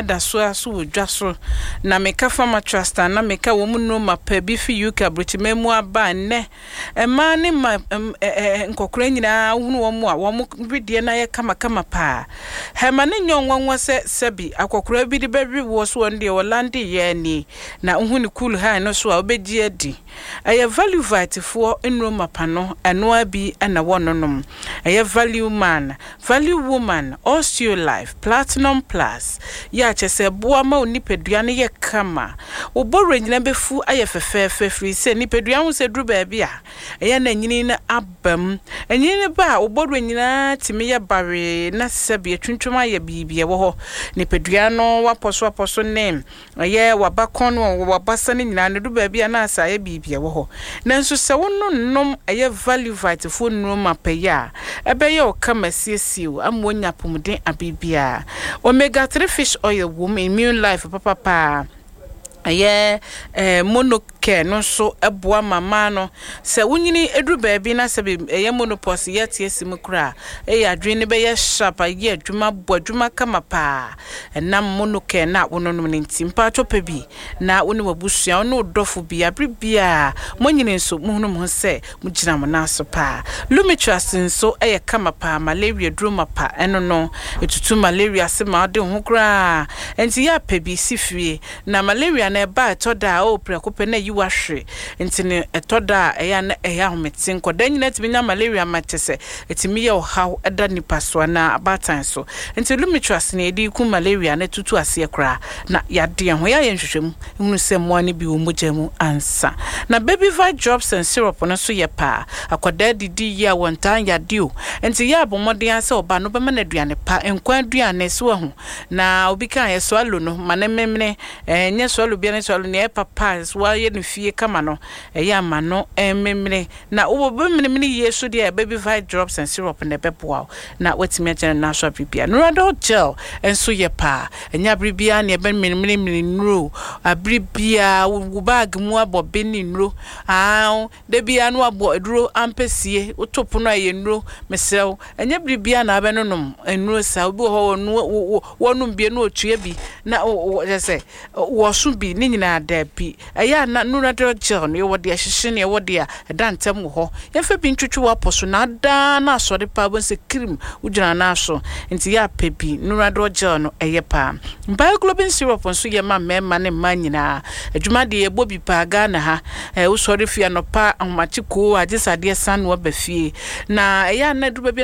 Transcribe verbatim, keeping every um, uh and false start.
da so ara so wɔ dwa so. Na meka Pharmatrust a, na meka wɔn nnuro mapa bi fi U K aburokyiman mu aba a nnɛ mmaa ne mma nkɔkora nyinaa wohunu wɔn a wɔn wedeɛ no ayɛ kamakama paa. Hɛma no nyɛ nwanwa sɛ sɛbi akɔkora bi de bɛwe woɔ so, wɔn deɛ wɔlande yɛ ani na wohu ne cool high no so a, wobɛgye adi. Ɛyɛ Value Vitefoɔ nnuro mapa no, ɛnoa bi na wɔnonom. Ɛyɛ Value Man, Value Woman, Osteolife, Platinum Plus yɛ akyɛ sɛ boa ma wo nipadua no yɛ kama, wo bɔwerɛ nyina bɛfu ayɛ fɛfɛɛfɛ, firi sɛ nipadua ho sɛ duru baabi a ɛyɛ na nyini no aba mu. Ɛnyini no ba a, wo bɔwerɛ nyinaa tumi yɛ bawee na sɛbi atwintwam ayɛ biribi ɛwɔ hɔ. Nipadua no wapɔ so apɔ so ne ɛyɛ wabakɔn no, wabasa no nyinaa no du baabi a na asa ayɛ biribi ɛwɔ hɔ. Nanso sɛ wononom ɛyɛ Value Vitefoɔ nnuro mapa yi a, ɛbɛyɛ wo kama, siesie wo ama woanya apɔmuden abiribiara. Omega three fish oil wɔ mu, Immune Life papapaa. Ɛyɛ ɛɛ Monocare no nso ɛboa mama no sɛ wonyini eduru baabi na sɛ ɛyɛ menopause yɛ te esi mu koraa, ɛyɛ adwene no bɛyɛ sharp, ayɛ adwuma, bɔ adwuma kama paa ɛnam Monocare na wononom ne. Nti mpaatɔ pɛ bi na wo ne w'abusua, wo ne wo dɔfo bi, abere biara mo nyini nso mohunu mo ho sɛ mogyina mo nan so paa. Lumitrust nso ɛyɛ kama paa, malaria duro mapa. Ɛno no etutu malaria ase ma ɔde ho koraa. Nti yɛ apɛ bi si fie na malaria na ɛba, ɛtɔ da a ɔwɔ prɛko pɛ na ayi wahwe. Nti no ɛtɔ da a ɛyɛ na ɛyɛ ahomete. Nkɔda nyinaa tumi nya malaria ma kyɛ sɛ ɛtumi yɛ ɔhaw ɛda nipa so anaa abaatan so. Nti Lumitrust na yɛde ku malaria na tutu aseɛ koraa na yadeɛ ho yɛayɛ nhwehwɛmu ehunu sɛ mmoa no bi wɔ mogya mu ansa. Na Baby Vite Drops and Syrup no nso yɛ paa. Akwadaa didi yie a, wɔntaa yade o. Nti yɛ abɔ mmɔden sɛ ɔba no bɛma no aduane pa, nkwan aduane so ahu na obi ka yɛ swallow no ma ne memene. Ɛnyɛ swallow bia ne swallow nea ɛyɛ papa so wayɛ no fie kama no, ɛyɛ ama no memene na wobɛmenemene yie so deɛ, Baby Vite Drops and Syrup na ɛbɛboa wo na watumi agyina no so abere bia. Nuradol Gel nso yɛ paa. Ɛnyɛ abere biara ne ɛbɛmenemene nnuro. Abere biara wo bag mu abɔ be ne nnuro aa, da biara no abɔ aduro ampɛsie, woto pono a ɛyɛ nnuro. Mesrɛ wo, ɛnyɛ bere biara na abɛnonom nnuro saa. Obi wɔ hɔ, wɔnom bie na otua bi na kyerɛ sɛ wɔso bi ne nyinaa. Daabi, ɛyɛ a na Nuradol Gel no yɛwɔ deɛ ɛhyehye ne ɛwɔ deɛ ɛda ntɛm wɔ hɔ. Yɛmfa bi ntwitwi w'apɔ so na adaa na asɔre paa bɔ sɛ kirim wogyina nan so. Nti yɛ apɛ bi Nuradol Gel no, ɛyɛ paa. Bioglobin syrup nso yɛ ma mmarima ne mmaa nyinaa. Adwuma deɛ yɛbɔ bi paa Ghana ha. ɛɛ wosɔre fie anɔpa ahomakye koo agye sɛ adeɛ san na waba fie na ɛyɛ a na aduru baabi.